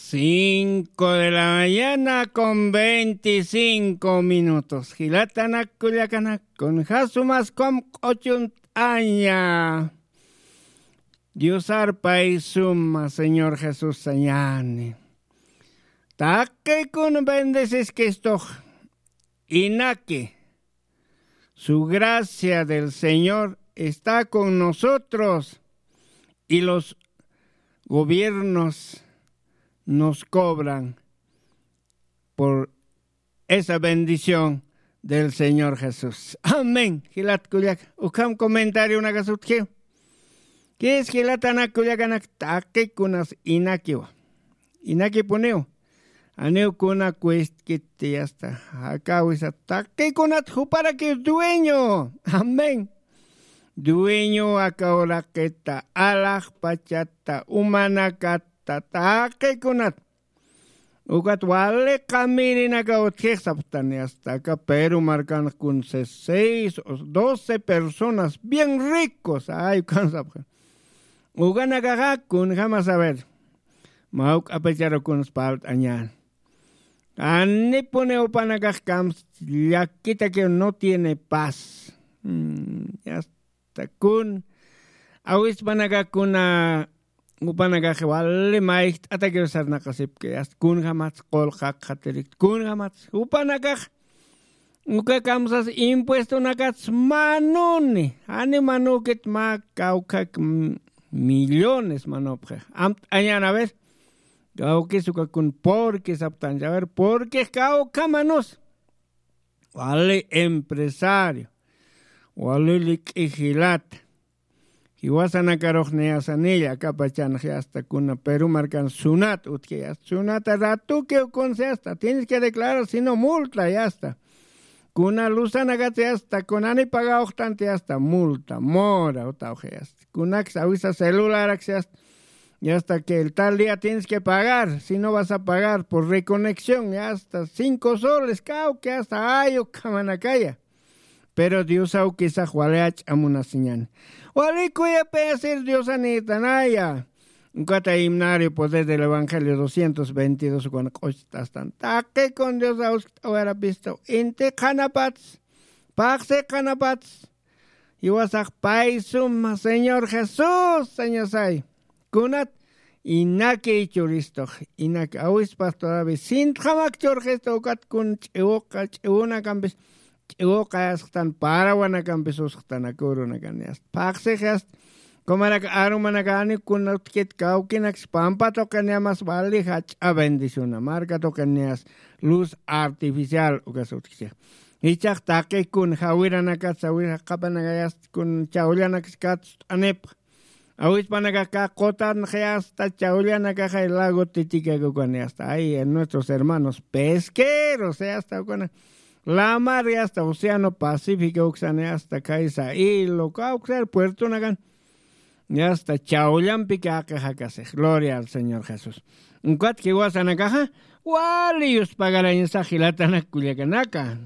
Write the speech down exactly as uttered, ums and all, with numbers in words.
Cinco de la mañana con veinticinco minutos. Jilatanak kullakanak, kun jasumas kum q'uchunt'aña. Diosar pay suma, Señor Jesús sañani. Taqikun bendeciskistux. Inaki. Su gracia del Señor está con nosotros y los gobiernos nos cobran por esa bendición del Señor Jesús. Amén. Jilat kullak, ukham comentario una gasutki. Kis jilatanak kullakanak, taqikunas inakiwa. Inakipuniw. Aniw kuna kuistkiti asta. Jakawisa taqikunat juparaki dueño. Amén. Dueño aka uraqita, alaxpachata, umanakata, taqikunat. Ukat wali qamirinaka utjix saptani asta aka Perú markan kun seis o doce personas bien ricos. Ay, ukan sapxan. Ukanakaxa kunjama saber. Mawk'apicharu kuns palt'añan. Anipuni upanakax kams llakitaki no tiene paz. Mm, ya está. Kun awispanaka kuna upanakax wali mayjt'atakiw sarnaqasipki, asta kunjamats qulqaqxatirik, kunjamats upanakax uka kamsas impuestonakats manuni, ani manukit mä kawkhak m-, millones manupxix. Amt'añan, a ver, kawkis uka kun porque saptancha, a ver, porque kawkha manus. Wali empresario, wali lik'i jilata. Jiwasanakarux niyasanilla, akapachanxi asta kuna Perú markan sunat utji asta. Sunata ratukiw kunsi asta. Tienes que declarar, si no multa, ya está. Kuna lusanakati asta, kunani pagawxtanti asta, multa, mora, utawxi asta. Kunaks awisa celularaksi asta. Y hasta que el tal día tienes que pagar, si no vas a pagar por reconexión, ya hasta cinco soles, kawki hasta ayu kamanakaya. Pero Dios awkisax wali ach'amunasiñan. Wali kuyapayasir Diosanïtanaya. Ukata himnario poder del evangelio doscientos veintidós ukan q'uchtastan. Taqi kun Dios awskt'awarapistu. Inti qhanapats. Paqsi qhanapats. Jiwasax pay suma, Señor Jesús, sañasay. Kunat, inaki churistux, inaki awispas todavía sintxamak churxistu ukat kun ch'iwuqa, ch'iwunakampis, ch'iwuqa yasxtan, parawanakampis usxtan, akurunakan yasta. Phaxsix yasta, kumarak arumanakani kunat kit kawkinaks pampa tuqiniyamas wali jach'a bendiciona, marka tuqiniyas luz artificial ukas utjkisix. Jichhax taqi kun jawiranakats, jawir jaqapanakayas kun chawllanaks katst'anipx. Awispanakax kä qutanxi asta chawllanakaxay lago Titicaca ukani asta. Ay, nuestros hermanos pesqueros, eh, asta ukana. Lamar, eh, asta Océano Pacífico uksani asta kaysa hilo, kawksar puertonakan. Y hasta chawllampi kaqi jakasix. Gloria al Señor Jesús. Ukat jiwasanakaxa, wali yuspagarañasax jilatanak kullakanaka.